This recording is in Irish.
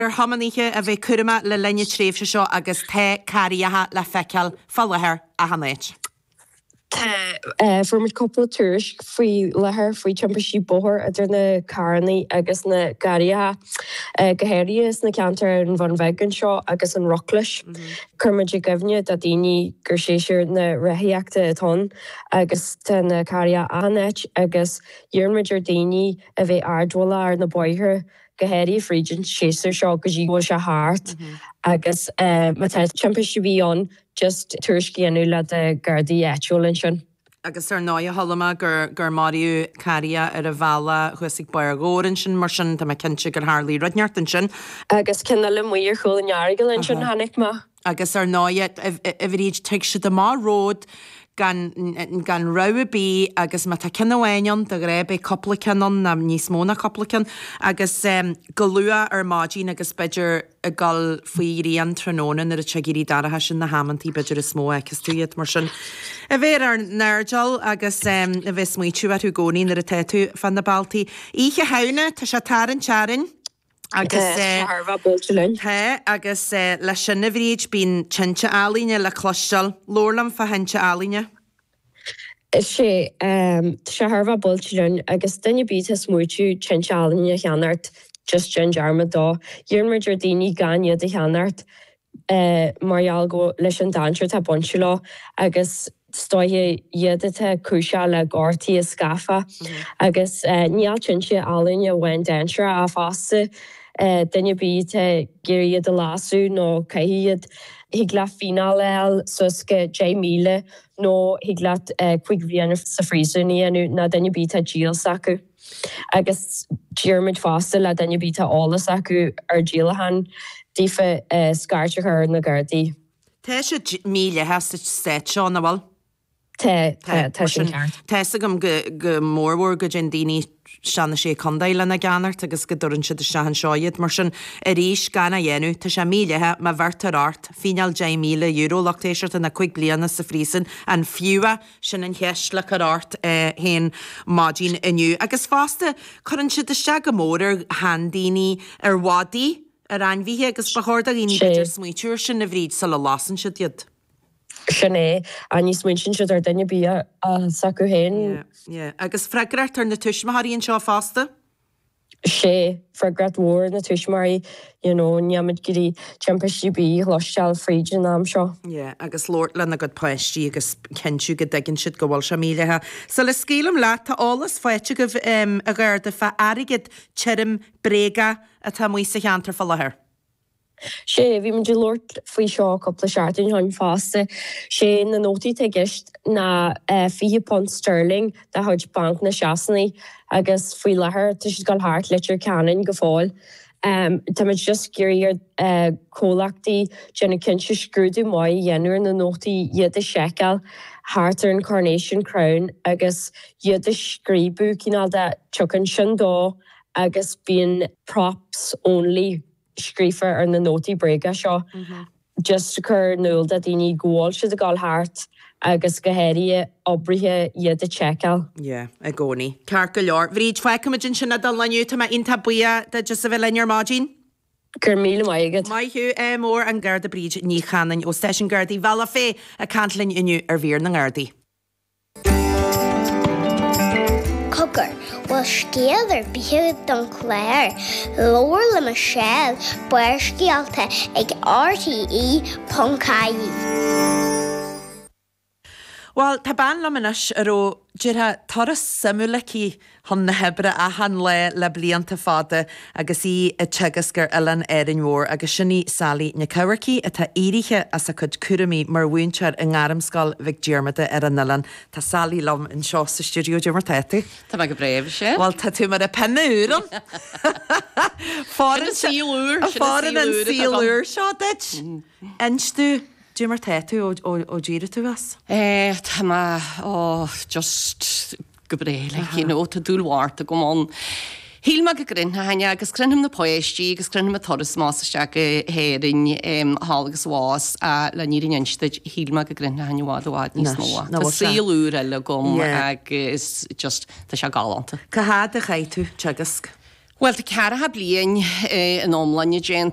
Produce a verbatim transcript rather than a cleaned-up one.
Ar thiománaithe a bheith cúramach le linn na tréimhse seo agus tá carraeacha le feiceáil fá láthair achan áit. Tá fuair muid cúpla tuairisc faoi láthair faoi timpistí bóthair idir na carranna agus na garraithe, go háirithe sna ceantair ar an Bhun Bheag anseo agus an Roclais. Chuir muid i gcuimhne do daoine gur séasúr na rothaíochta atá ann agus tá na carraeacha achan áit agus iarrann muid ar daoine a bheith airdeallach ar na bóithre go háirithe fríd an séasúr seo go dtí go bhfuil sé thart agus má tá timpiste ar bith ann just tuairisc a dhéanamh le do Ghardaí áitiúil ansin. Agus ar ndóigh chuala mé gur gur maraíodh carria ar an bhealach thuas ag Barr Dhobhair ansin mar sin tá mé cinnte gur tharlaigh rud inteacht ansin. Agus ceann eile amuigh ar chúl an Earagail ansin chonaic mé. Agus ar ndóigh a Bhríd tig siad amach ród gan gan rabhadh ar bith agus má tá ceann amháin ann de ghnáth beidh cúpla ceann ann nó níos mó ná cúpla ceann agus go luath ar maidin agus b'fhéidir ag dul faoi ghrian tráthnóna nuair atá sé ag éirí dorcha sin na hamantaí b'fhéidir is mó a fheiceas tú iad mar sin a bheith ar ár n-airdeall agus a bheith ag smaoitiú orthu i gcónaí nuair atá tú fá na bealtaí. Oíche Shamhna, tá sé ag tarraingt orainn. Agus Tá sé thar a bheith buailte linn. Tá, agus leis sin a Bhríd, bíonn tinte ealaíne le cloisteáil. Labhair liom fá thinte ealaíne. Is é, tá sé thar a bheith buailte linn agus duine ar bith atá ag smaoitiú tinte ealaíne a cheannacht, just déan dearmad dó. Iarrann muid ar daoine gan iad a cheannacht. mar gheall go leis an dainséar atá bainte leo agus is dóiche iad atá cúiseach le gortuithe scafa agus níl tinte ealaíne amháin dainséarach ach fosta duine ar bith atá ag iarraidh iad a lasadh nó caitheamh iad thig leat fíneáil a fháil suas go deich míle nó thig leat cúig bhliana sa phríosún a dhéanamh nó duine ar bith atá ag díol s'acu. Agus deirimid fosta le duine ar bith atá eolas acu ar díolachán daofa scairt a chur ar na Gardaí. Tá sé mídhleathach sa stát seo, nach bhfuil? Tá, tá, tá sin ceart. Tá fhios agam go go mórmhór go dtéann daoine isteach na Sé Contae lena gceannacht agus go dtabhrann siad isteach anseo iad. Mar sin, arís, gan a dhéanamh, tá sé mídhleathach, má bheirtear ort, fíneáil deich míle euro, lucht éisteachta, nó cúig bliana sa phríosún, an fiú é? Sin an cheist le cur ort féin maidin inniu. Agus fosta, cuireann siad isteach go mór ar sheandaoine, ar mhadaí, ar ainmhithe agus ba chóir do dhaoine b'fhéidir smaoitiú ar sin, a Bhríd, sula lasann siad iad. Sin é. Ní smaointíonn siad ar duine ar bith s'acu féin. Yeah, yeah. Agus freagracht ar na tuismitheoirí anseo fosta. Sea, freagracht mhór ar na tuismitheoirí, you know, nílimid ag iarraidh timpistí ar bith a chloisteáil fríd an am seo. Yeah, agus labhairt lena gcuid páistí agus cinntiú go dtuigeann siad go bhfuil sé mídhleathach. Sula scaoilim leat, tá eolas faighte agaibh, a Gharda, fá airgead tirim bréagach atá amuigh sa cheantar fá láthair. Sea, bhí muid ag labhairt faoi seo cúpla seachtain ó shin fosta. Sé na nótaí atá i gceist ná fiche punt sterling de chuid Banc na Sasana agus faoi láthair tá siad ag dul thart Leitir Ceanainn go fóill. Tá muid just ag iarraidh ar chomhlachtaí déanamh cinnte scrúdú maith a dhéanamh ar na nótaí, iad a sheiceáil thart ar an Coronation Crown agus iad a scríobadh cineál de tiocfaidh sin dó agus bíonn props only. scríofa ar na nótaí bréige seo just a chur in iúl do dhaoine go bhfuil siad ag dul thart agus go háirithe oibrithe iad a tseiceáil. Yeah, i gcónaí. Ceart go leor. Bhríd, fágfaimid ansin é don lá inniu. Tá mé iontach buíoch duit as a bheith linn ar maidin. Go raibh míle maith agat. Maith thú. Ádh mór an Garda Bríd Ní Chanainn ó Stáisiún Gardaí Bhealach Féich ag caint linn inniu ar Mhír na nGardaí. Cogar, bhfuil scéal ar bith agat don chlár? Labhair le Michelle, Barrscéalta ag RTE ponc ie. Bhuel, tá bean liom anois a raibh, déarfá, turas suimiúil aici chun na hoibre achan lá le blianta fada agus í ag teagasc ar oileán Árainn Mhór agus sin í Sally Nic Eamharcaigh atá éirithe as a cuid cúraimí mar mhúinteoir i nGairmscoil Mhic Diarmada ar an oileán. Tá Sally liom anseo sa stiúideo. Cad é mar tá tú? Tá mé go breá, sea. Bhuel, tá tú mar a pionna úr ann. Fóireann sin an saol úr, sin an saol úr seo duit. Inis domh, cad é mar tá tú ó d'éirigh tú as? Eh, tá mé, oh, just go breá, like, you know, tá dúil mhór agam ann. Shíl mé go gcroinneochainn é agus croinnfidh na páistí agus croinnfidh an turas amach is isteach go hÉirinn thall agus abhus ach le an fhírinne a inse duit, shíl mé go gcroinnfinn i bhfad i bhfad níos mó. Tá saol úr eile agam agus just tá sé galánta. Cá fhad a chaith tú ag teagasc? Well tá ceathracha bliain in iomláine déanta